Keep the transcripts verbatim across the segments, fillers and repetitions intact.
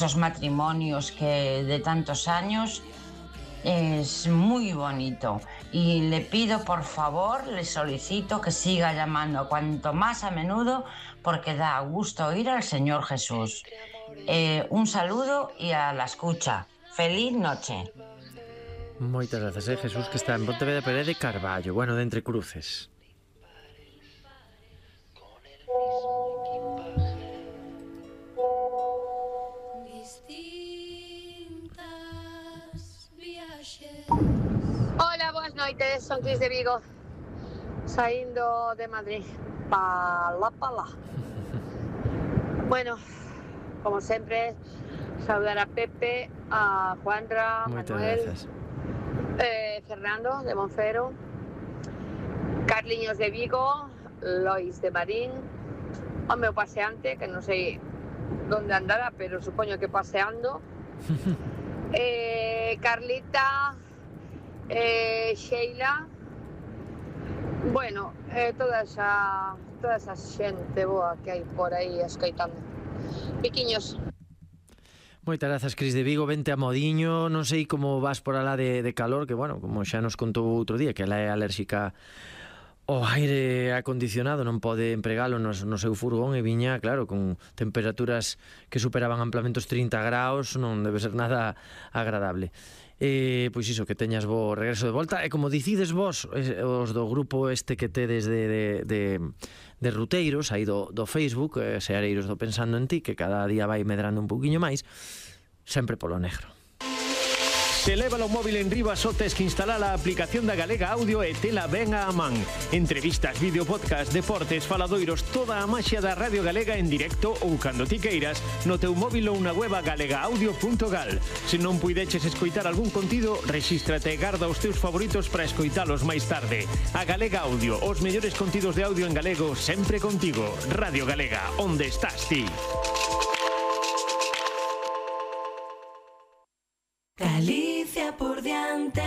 esos matrimonios que de tantos años. Es muy bonito y le pido, por favor, le solicito que siga llamando cuanto más a menudo porque da gusto oír al Señor Jesús. Eh, un saludo y a la escucha. Feliz noche. Moitas grazas, eh, Jesús, que está en Pontevedra, pero é de Carballo, bueno, de Entre Cruces. Hola, boas noites, son Cris de Vigo, saindo de Madrid pala pala. Bueno, como sempre, saudar a Pepe, a Juanra, Moitas Manuel, grazas. eh, Fernando de Monfero, Carliños de Vigo, Lois de Marín, o meu paseante, que non sei onde andará, pero supoño que paseando, eh, Carlita, eh, Sheila, bueno, eh, toda esa toda esa xente boa que hai por aí escoitando. Piquiños. Moitas grazas, Cris de Vigo, vente a modiño, non sei como vas por alá de, de calor, que bueno, como xa nos contou outro día, que ela é alérxica ao aire acondicionado, non pode empregalo no, no seu furgón e viña, claro, con temperaturas que superaban amplamente os trinta graus, non debe ser nada agradable. Eh, pois iso, que teñas bo regreso de volta. E como dicides vos, os do grupo este que tedes de, de, de, de ruteiros aí do, do Facebook, eh, Seareiros do Pensando en Ti, que cada día vai medrando un pouquiño máis, sempre polo negro. Se leva o móvil en riba só tes que instalar a aplicación da Galega Audio e tela ben a man. Entrevistas, vídeo, podcast, deportes, faladoiros, toda a maxia da Radio Galega en directo ou cando ti queiras no teu móvil ou na web galega audio punto gal. Se non puideches escoitar algún contido, rexístrate e garda os teus favoritos para escoitalos máis tarde. A Galega Audio, os mellores contidos de audio en galego sempre contigo. Radio Galega, onde estás ti? Galicia por diante.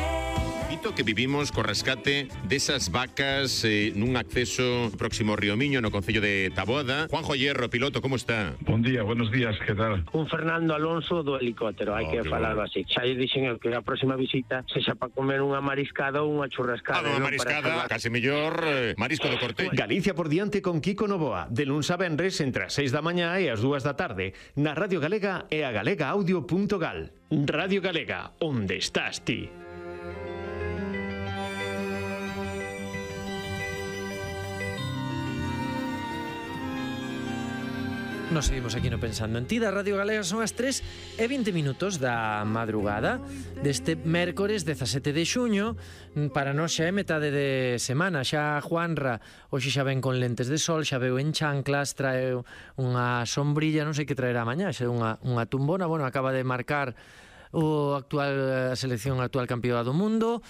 Dito que vivimos co rescate desas vacas eh, nun acceso próximo ao Río Miño no concello de Taboada. Juanjo Hierro, piloto, como está? Bon día, buenos días, que tal? Un Fernando Alonso do helicóptero, hai Oh, que que falar bueno. así. Xa lle dixen eu que a próxima visita sexa para comer unha mariscada ou unha churrascada. Ah, unha non mariscada, para case mellor eh, marisco do Corte. Galicia por diante con Kiko Novoa, de luns a venres entre as seis da mañá e as dúas da tarde, na Radio Galega e a galega audio punto gal. Radio Galega, onde estás ti? Nos seguimos aquí no Pensando en Ti da Radio Galega. Son as tres e vinte minutos da madrugada deste mércores dezasete de xuño. Para nós xa é metade de semana. Xa Juanra hoxe xa ven con lentes de sol, xa veu en chanclas, trae unha sombrilla, non sei que traerá mañá, xa unha, unha tumbona. Bueno, acaba de marcar o actual a selección actual campeona do mundo.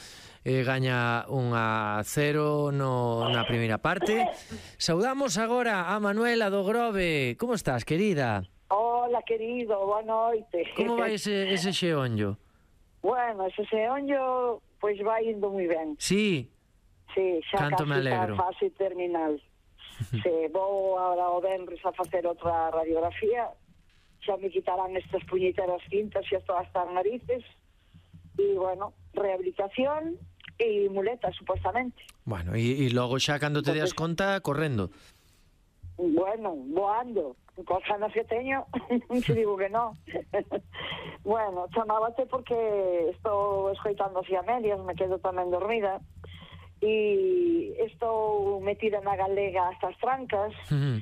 Eh, gaña un a cero no, na primeira parte. Saudamos agora a Manuela do Grove. Como estás, querida? Hola, querido, boa noite. Como vai ese, ese xeonllo? Bueno, ese xeonllo, pois pues vai indo moi ben. Sí? Sí, xa Canto me casi alegro. está a fase terminal. Se vou agora o venres a facer outra radiografía, xa me quitarán estas puñeteras cintas e todas estas narices. E, bueno, rehabilitación e muletas, supostamente. Bueno, e, e logo xa cando te Entonces, das conta, correndo. Bueno, voando. Cos ganas que teño, se digo que non. Bueno, chamábate porque estou escoitando así a medias, me quedo tamén dormida, e estou metida na galega hasta as trancas. Uh-huh.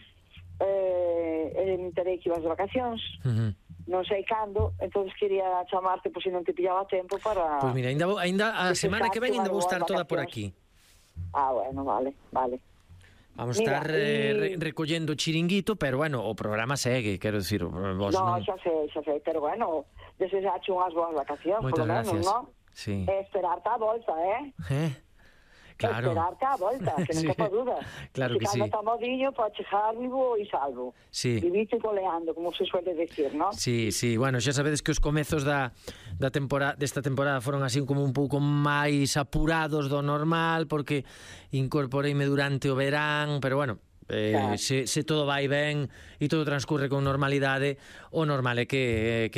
eh, me terei que ibas de vacacións. Uh-huh. Non sei cando, entonces quería chamarte por si non te pillaba tempo para... Pois pues mira, ainda, vou, ainda a semana que ven ainda vou estar toda por aquí. Ah, bueno, vale, vale. Vamos Mira, estar eh, y... re, recollendo chiringuito, pero bueno, o programa segue, quero dicir, vos No, non... xa sei, xa sei, pero bueno, deseaxe unhas boas vacacións, Moitas por lo menos, gracias. non? Sí. E esperarte a volta, eh? Eh? Claro. Esperarte a volta, que non Sí. te duda. Claro que sí. Cando está modiño, para chegar vivo e salvo. Sí. Vivito e coleando, como se suele decir, non? Sí, sí, bueno, xa sabedes que os comezos da, da temporada, desta temporada foron así como un pouco máis apurados do normal, porque incorporeime durante o verán, pero bueno, eh, Claro. se, se todo vai ben e todo transcurre con normalidade, o normal é que, que